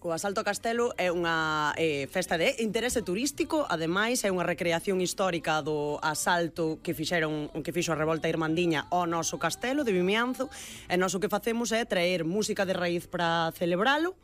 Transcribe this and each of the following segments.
México. O Asalto a Castelo é unha festa de interese turístico, ademais é unha recreación histórica do asalto que fixo a revolta irmandiña ao noso castelo de Vimianzo, e nós o que facemos é traer música de raíz para celebralo.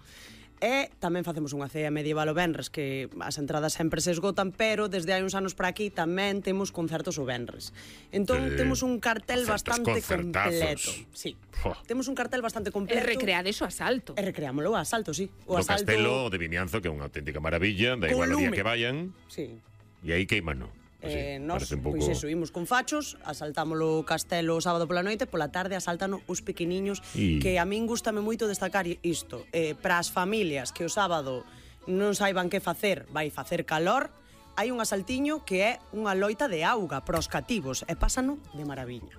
E tamén facemos unha cea medieval o venres, que as entradas sempre se esgotan, pero desde hai uns anos para aquí tamén temos concertos o venres. Entón temos un cartel bastante completo. Sí. Temos un cartel bastante completo. E recreades o asalto. E recreámoslo o asalto, sí. O castelo de Vimianzo, que é unha auténtica maravilla, da igual o día que vayan. Sí. E aí queimano. Nós, pois eso, imos con fachos, asaltámoslo o castelo o sábado pola noite, pola tarde asáltano os pequeniños, que a min gústame moito destacar isto, para as familias que o sábado non saiban que facer, vai facer calor, hai un asaltiño que é unha loita de auga para os cativos, e pásano de maravilla.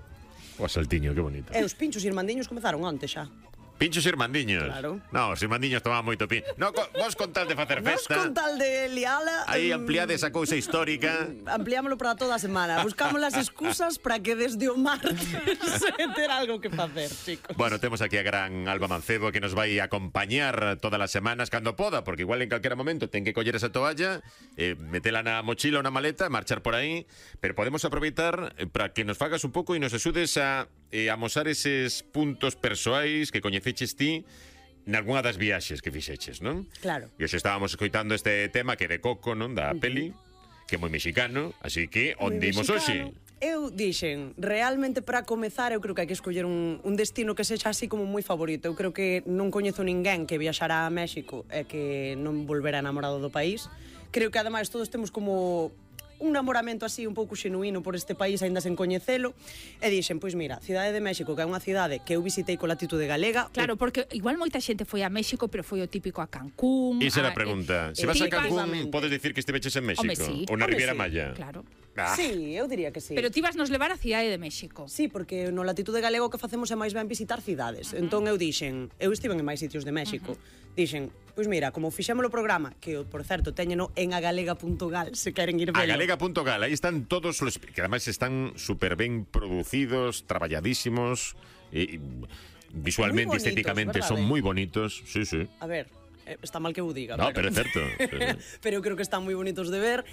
O asaltiño, que bonito. E os pinchos irmandiños comezaron onte xa. Pinchos irmandiños. Claro. No, os irmandiños tomaban moito pincho. No, vos con tal de facer festa. Vos con tal de liala. Aí ampliade esa cousa histórica. Ampliámoslo para toda a semana. Buscamos as excusas para que desde o martes ter algo que facer, chicos. Bueno, temos aquí a gran Alba Mancebo, que nos vai acompañar todas as semanas cando poda, porque igual en calquera momento ten que coller esa toalla, metela na mochila ou na maleta, marchar por aí, pero podemos aproveitar para que nos fagas un pouco e nos axudes a amosar eses puntos persoais que coñeceches ti nalgúna das viaxes que fixeches, non? Claro. E hoxe estábamos escoitando este tema que é de Coco, non? Da peli, que é moi mexicano, así que onde imos hoxe? Eu dixen, realmente para comezar eu creo que hai que escoller un destino que sexa así como moi favorito. Eu creo que non coñezo ninguén que viaxara a México e que non volvera enamorado do país. Creo que ademais todos temos como un namoramento así un pouco xenuíno por este país, aínda sen coñecelo, e dixen, pois mira, Cidade de México, que é unha cidade que eu visitei con latitude galega. Claro, porque igual moita xente foi a México, pero foi o típico a Cancún. Esa era a pregunta. Se vas a Cancún, podes dicir que estiveches en México? Sí. Ou na Riviera Maya? Claro. Sí, eu diría que sí. Pero ti vas nos levar a Cidade de México. Sí, porque no latitude galego o que facemos é máis ben visitar cidades. Entón eu dixen, eu estiven en máis sitios de México, dixen, pois mira, como fixemos o programa, que por certo teñeno en agalega.gal, se queren ir velo. Agalega.gal, aí están todos os que ademais están super ben producidos, traballadísimos, visualmente, estéticamente son moi bonitos. Sí, sí. A ver, está mal que eu diga. No, pero é certo. Pero eu creo que están moi bonitos de ver.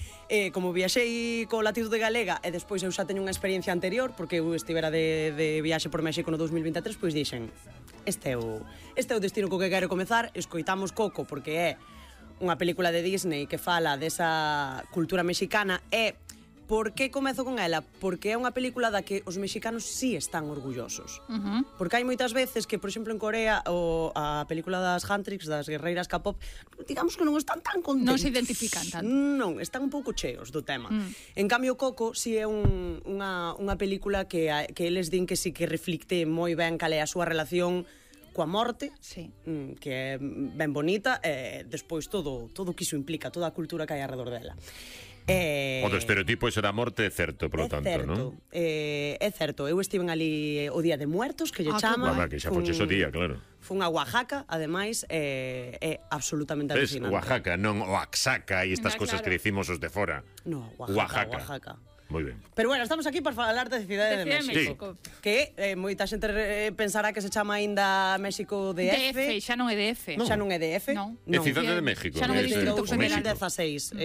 Como viaxei co latitude galega e despois eu xa teño unha experiencia anterior, porque eu estivera de viaxe por México no 2023, pois dixen, este é o destino co que quero comezar. Escoitamos Coco porque é unha película de Disney que fala desa cultura mexicana. E por que comezo con ela? Porque é unha película da que os mexicanos sí están orgullosos. Porque hai moitas veces que, por exemplo, en Corea a película das Huntrix, das guerreiras K-pop, digamos que non están tan contentos. Non se identifican tanto. Non, están un pouco cheos do tema. En cambio, Coco sí é unha película que eles din que sí que reflicte moi ben cal é a súa relación coa morte, sí, que é ben bonita, e despois todo o que iso implica, toda a cultura que hai alrededor dela. O do estereotipo ese da morte é certo, por lo tanto, non? É certo, eu estiven ali o Día de Muertos, que lle chama. Que xa foches o día, claro. Fun a Oaxaca, ademais, é absolutamente alucinante. Oaxaca, non Oaxaca e estas cosas que decimos os de fora. No, Oaxaca. Moi ben. Pero bueno, estamos aquí para falar de Cidade de México. Sí. Que moita xente pensará que se chama aínda México DF. Xa non é DF. Xa non é DF. Non. É Cidade de México. Xa non é Distrito Federal. 2016.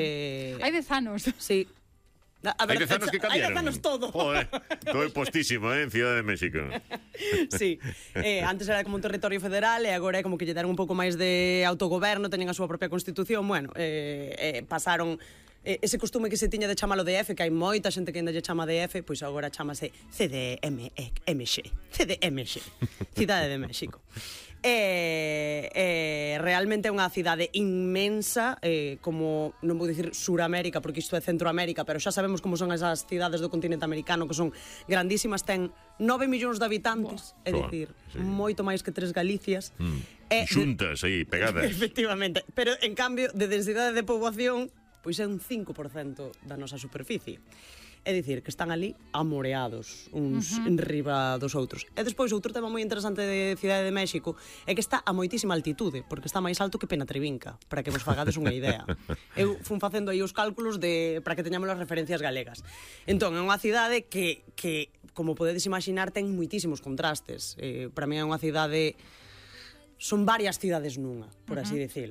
Hai 10 anos. Sí. Hai 10 anos que cambiaron. Hai 10 anos todo. Joder, todo é postísimo, en Cidade de México. Sí. Antes era como un territorio federal e agora é como que lle deron un pouco máis de autogoberno, teñen a súa propia constitución. Bueno, pasaron ese costume que se tiña de chamalo DF, que hai moita xente que ainda lle chama DF, pois agora chamase CDMX, Cidade de México. Realmente é unha cidade inmensa, como, non vou dicir Suramérica, porque isto é Centroamérica, pero xa sabemos como son esas cidades do continente americano, que son grandísimas, ten 9 millóns de habitantes, é dicir, moito máis que 3 Galicias. Xuntas aí, pegadas. Efectivamente, pero en cambio, de densidade de poboación, pois é un 5% da nosa superficie. É dicir, que están ali amoreados uns enriba dos outros. E despois, outro tema moi interesante de Cidade de México é que está a moitísima altitude, porque está máis alto que Penatrevinca, para que vos fagades unha idea. Eu fun facendo aí os cálculos para que teñamos as referencias galegas. Entón, é unha cidade que como podedes imaginar, ten moitísimos contrastes. Para mí é unha cidade... Son varias cidades nunha, por así dicilo.